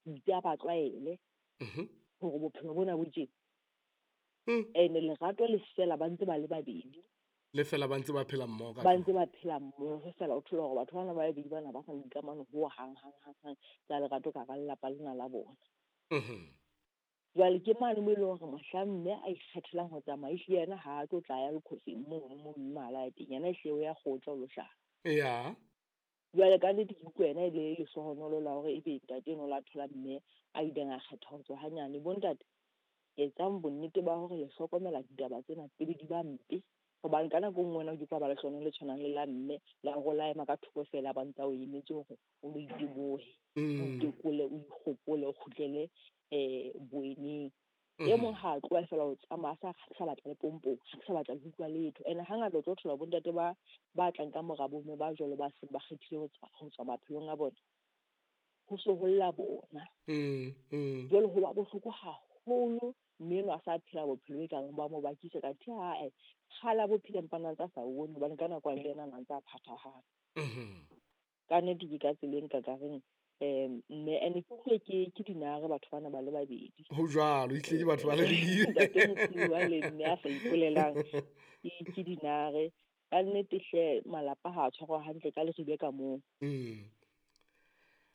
Itse a ba tlwaele hore bophelo bona bo tjena. Ene lerato le fela ba ntse ba le babedi. Le fela ba ntse ba phela mmoho ka Ba ntse ba phela mmoho fela, o thole hore batho bana ba babedi bana ba sa na dikamano ho hang hang hang hang tsa lerato ka hara lelapa lena la bona. Jwale ke mane mo e leng hore mohlang mme a ikgethelang ho tsamaya, ehlile yena ha a tlo tla ya lekhofeng mono mo mme a la teng, yena ehlile o ya kgotla o lo hlala. Jwale ka nnete ke utlwa yena e le lehlohonolo la hore ebe ntate enwa o la thola mme a ileng a kgetha ho tswa hanyane. Bontate, etsang bonnete ba hore le hlokomela ditaba tsena pele di ba mpe, hobane ka nako e nngwe wena o ke tla ba lehlohonolo le tshwanang le la mme la hore o la ema ka thoko feela, ba ntse a o emetse hore o lo itebohe, o itekole, o ikgopole, o kgutlele boeneng. E mong ha a tloha fela o tsamaya, a sa batla le pompong, ha ke sa batla le ho utlwa letho. Ene hangata o tlo thola bontate ba tlang ka mora bomme ba jwalo, ba seng ba kgethile ho tswa maphelong a bona, ho so ho lla bona. Jwale ho ba bohloko haholo, mme enwa a sa phela bophelo e kang ba mo bakisa ka the ae kgale a bophelo, empa na ntse a sa bone, hobane ka nako le yena a ntse a phathahane. Ka nnete ke ka tseleng ka ka reng mme ene ke utlwe ke dinare batho bana ba le babedi. Ho jwalo, ehlile ke batho ba le babedi. Ntate Mosiuwa le mme a sa ipolelang ke dinare. Ka nnete hle, malapa ha a tshwarwa hantle ka leribe ka moo.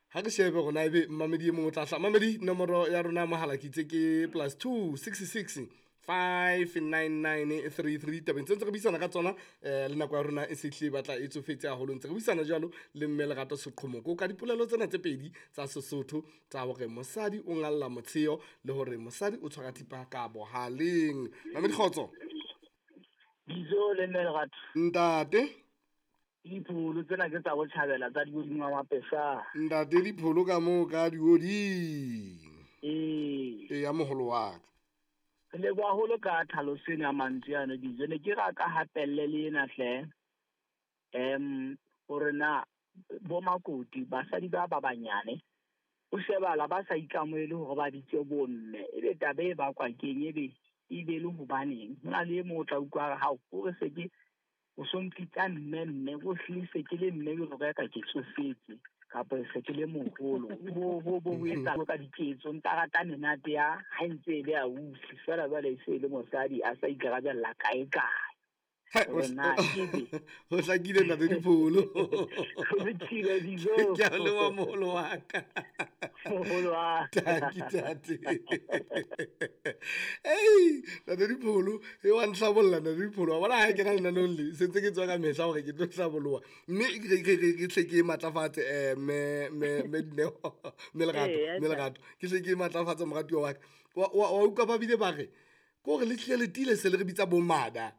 Ha re shebe rona ebe mmamedi e mong o tla hla. Mamedi, nomoro ya rona mohala ke itse ke +2 66 599 33. Tabeng tse ntse re buisana ka tsona, le nako ya rona e se hlile e batla e tsofetse haholo. Ntse re buisana jwalo le mme Lerato Seqhomoko ka dipolelo tsena tse pedi tsa Sesotho tsa hore mosadi o ngalla motsheo le hore mosadi o tshwara thipa ka bohaleng. Mamedi, kgotso. Bizo le mme Lerato. Ntate. Dipholo tsena ke tsa botjhabela tsa dihodimo wa Mapesa. Ntate, dipholo ka moo ka dihodimo. Ee. Ee, ya moholo wa ka. Re leboha haholo ka tlhaloso ena ya mantswe ano, Bizo. Ne ke ra ka hapelle le ena hle. Hore na bo makoti, basadi ba ba banyane, o shebala ba sa ikamohele hore ba bitse bomme. Ebe taba e bakwa keng, ebe e be le hobaneng? Ho na le e mong o tla utlwa hore hao, o re se ke o so mpitsa mme, mme, o hlile se ke le mme jwalo ka ka ke tsofetse, kapa se ke le moholo. Bo ho etsa ka diketso, ntsa rata menate ya ha e ntse e le ausi, feela jwale e se e le mosadi a sa ikarabella kae kae. Hai, Hore na ebe ho hlakile ntate Dipholo. Ho lokile, Dizo. Ke a leboha moholo wa ka. Moholo wa ka. Tanki, tate. Ei, ntate Dipholo, e wa ntlhabolla ntate Dipholo. Wa bona ha ke na lenaneong le, se ntse ke tswa ka mehla hore ke tlo hlaboloha. Mme ke hle ke matlafatse, mme Dineo, mme Lerato, Ee, mme Lerato. Ke hle ke matlafatse moratuwa wa ka. Wa utlwa ba bile ba re, ke hore le tlile le tiile se le re bitsa bomada.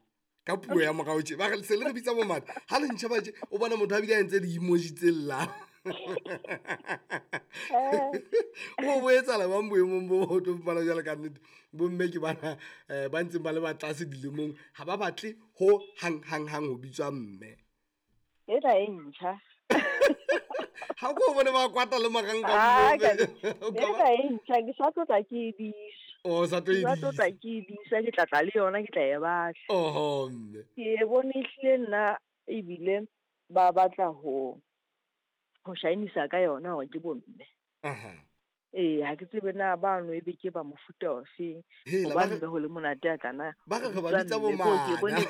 Ka puo ya morao tje, ba re se le re bitsa bomada. Ha le ntjha ba tje, o bona motho a bile a entse di-emoji tse llang. O bo etsahala bang boemong bo ho tlo fumana jwale ka nnete. Bomme ke bana, ba ntseng ba le ba tlase dilemong, ha ba batle ho hang, hang, hang ho bitswa mme. Ena e ntjha. Ha ko bone ba kwata le marang ka Ah, moo. ka O ka Ena e ntjha, ke sa tlotla ke e disa. Oh, sa tlo e Ke sa tlotla disa. ke e disa, ke tla tla le yona, ke tla e batla. Oho, mme. Ke e bone ehlile nna ebile ba batla ho shainisa ka yona hore ke bomme. Ee, ha ke tsebe na bano ebe ke ba mofuta ofeng. Hela, ba Hobane re be ho le monate a kana. Ba re re ba Bitswa bitsa mme, ko ke bomana. bone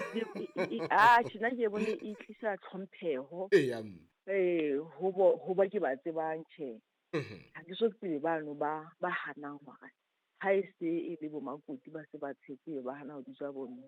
e, ah, tjhe, nna ke bone e tlisa tlhompheho. Eya, mme. Ee, ho ba ke ba tsebang, tjhe. Ha ke so tsebe bano ba hanang hore ha e se e le bo makoti ba se ba tshetse, ba hana ho bitswa bomme.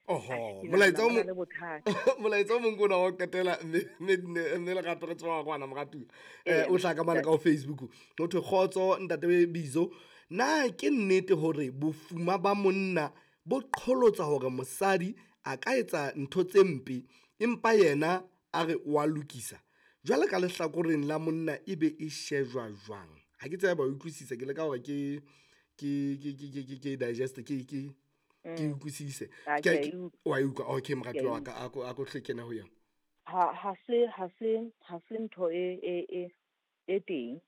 Oho, Ke molaetsa o nahana mo ba na le bothata. Molaetsa o mong ke ona wa ho qetela, mme Lerato re tswa kwana, moratuwa. Ee, O hlaha ka mane ka ho Facebook. Ho thwe kgotso ntate Bizo, na ke nnete hore bofuma ba monna bo qholotsa hore mosadi a ka etsa ntho tse mpe empa yena a re wa lokisa? Jwale ka lehlakoreng la monna e be e shejwa jwang? Ha ke tsebe ba utlwisisa, ke leka hore ke digest, ke utlwisise. Ah, Ke ke a a e utlwa. Wa e utlwa? Okay, moratuwa Ke a wa ka, a ko hle kene ho yona. Ha se ntho e teng.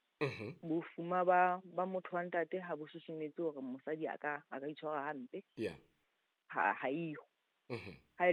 Bofuma ba motho wa ntate ha bo susumetse hore mosadi a ka itshwara hampe. Ha eyo. Ha e